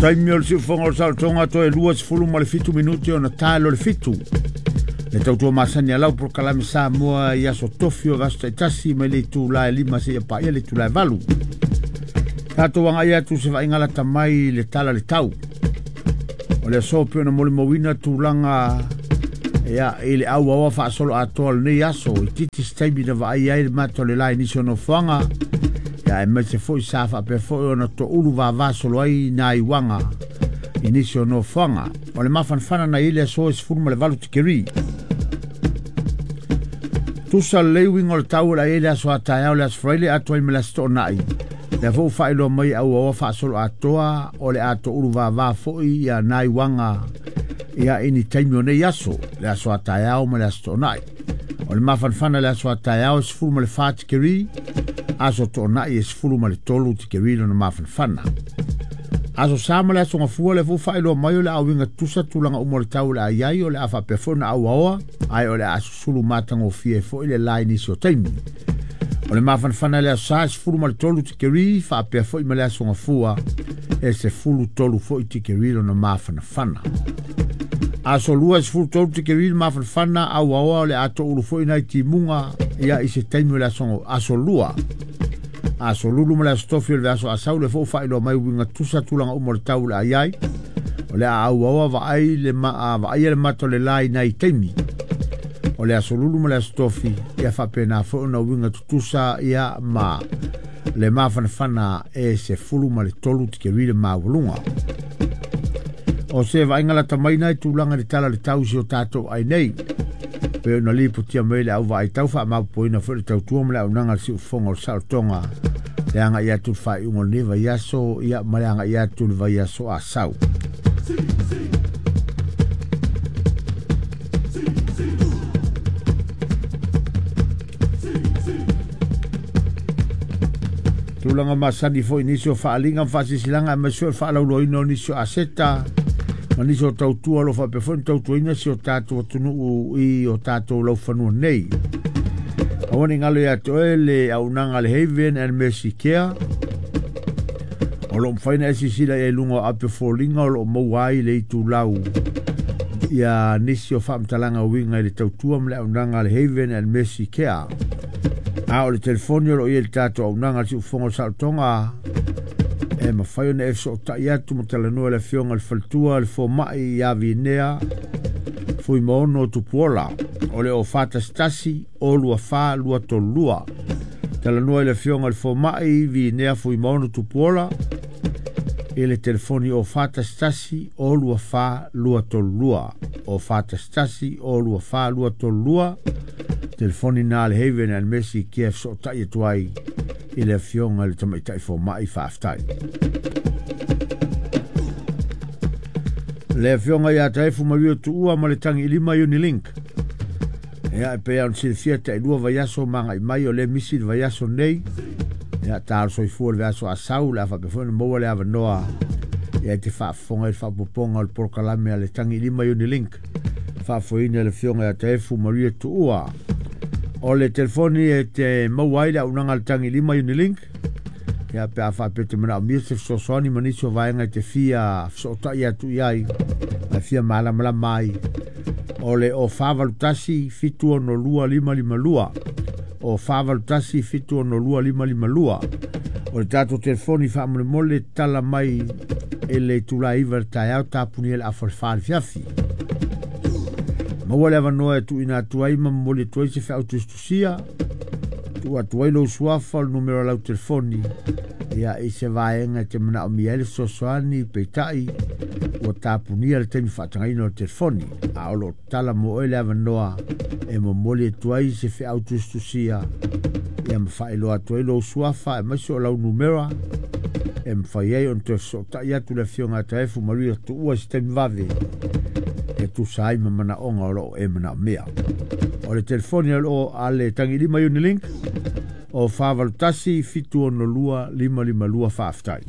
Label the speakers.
Speaker 1: Taimi o le siufofoga o le saolotoga toe 27 minute ona talo le 7. Le tautua masani a lau polokalame Samoa i aso tofi o vaiaso taitasi mai le itula e 5 seia paia le itula e 8. Tatou agai atu se vaaiga lata mai i le tala le tau. O le aso pei ona molimauina tulaga ia i le auaoa faasolo atoa o lenei aso i titi se taimi na vaai ai le mata o le la i nisi o nofoaga ia aemaise foi sa faapea foi ona toulu vavasolo ai nai uaga i nisi o nofoaga. O le mafanafana na i le aso e 18 tikeri. Tusa lelei uiga o le tau o le a i ai le aso a taeao le aso Faraile atoa ai ma le aso Toonai. Lea foi ua faailoa mai auaoa faasolo atoa o le a toulu vava foi ia nai uaga ia i ni taimi o nei aso, le aso a taeao ma le aso Toonai. O le mafanafana le aso a taeao e 14 tikeri, aso Toonai e 13 tikeri lona mafanafana. Aso Sa ma le aso Gafua lea foi ua faailoa mai o le a uiga tutusa tulaga uma o le tau o le a i ai, o le a faapea foi ona auaoa, ae o le a susulu matagofie ai foi le la i nisi o taimi. O le mafanafana i le aso Sa e 13 tikeri, faapea foi ma le aso Gafua e 13 foi tikeri lona mafanafana. Aso Lua e 13 tikeri le mafanafana, auaoa o le a toulu foi nai timuga ia i se taimi o le aso Lua. Aso Lulu ma le aso Tofi o le vaiaso Asau lea foi ua faailoa mai uiga tusa tulaga uma o le tau o le a i ai. O le a auaoa vaai le vaaia le mata o le la i nai taimi o le aso Lulu ma le aso Tofi ia faapena foi ona uiga tutusa ia ma le mafanafana e 13 tikeri le maualuga. O se vaaiga lata mai nai tulaga i le tala o le tau i si o tatou ai nei. Pei ona lipotia mai le au vaai tau faamaopoopoina foi le tautua ma le auaunaga a le siufofoga o le saolotoga le agai atu i le faaiuga o lenei vaiaso ia ma le agai atu i le vaiaso Asau. Tulaga masani foi nisi o faaaliga ma faasilasilaga aemaise foi o le faalauiloaina o nisi o aseta ma nisi o tautua o lo o faapea foi ona tautuaina si o tatou atunuu i o tatou laufanua nei. Aua ne i galo ia te oe le auaunaga a le Haven and Mercy Care o lo o mafai ona e silasila i ai i luga o ape foliga o lo o maua ai le itulau ia nisi o faamatalaga uiga i le tautua ma le auaunaga a le Haven and Mercy Care. A o le telefoni o lo o i ai i le tatou auaunaga a le Siufofoga o le Saolotoga e mafai ona e fesootai atu ma talanoa i le Afioga i le Faletua le Fomai ia Vinea Fuimaono Tupuola o le 041 024 232. Talanoa i le Afioga i le Fomai Vinea Fuimaono Tupuola i le telefoni 041 024 232. 041 024 232. Telefoni na a le Haven and Mercy Care fesootai atu ai i le Afioga i le Tamaitai Fomai. Faafetai. Le Afioga ia Taefu Maria Tuua ma le Tagiilima Unilink. Ia, e pei ona silafia tailua vaiaso magai mai o lea misi le vaiaso nei. Ia, talo soifua le vaiaso Asau, le a faapea foi ona maua le avanoa ia e te faafofoga i le faaopoopoga o le polokalame a le Tagiilima Unilink. Faafoeina e le Afioga ia Taefu Maria Tuua. O le telefoni e te maua ai le auaunaga a le Tagiilima Unilink, ia pe a faapea te manaomia se fesoasoani ma nisi o vaega e te fia fesootai atu i ai ma e fia malamalama ai, o le 041 762 552, 041 762 552. O le tatou telefoni faamolemole tala mai e le itula e 9 i le taeao tapunia i le afa o le 4 i le afiafi. Maua le avanoa e tuuina atu ai ma momoli atu ai se feau tusitusia, tuu atu ai lou suafa o le numera o lau telefoni ia i se vaega e te manaomia ai le fesoasoani, peitai ua tapunia le taimi faatagaina o le telefoni, a o lo o tala mo oe le avanoa e momoli atu ai se feau tusitusia ia ma faailoa atu ai lou suafa aemaise o lau numera e mafai ai ona toe fesootai atu le Afioga ia Taefu Maria Tuua i se taimi vave e tusa ai ma manaoga o lo o e manaomia. O le telefoni a le Tagiilima Unilink o 481 762 552. Faafetai.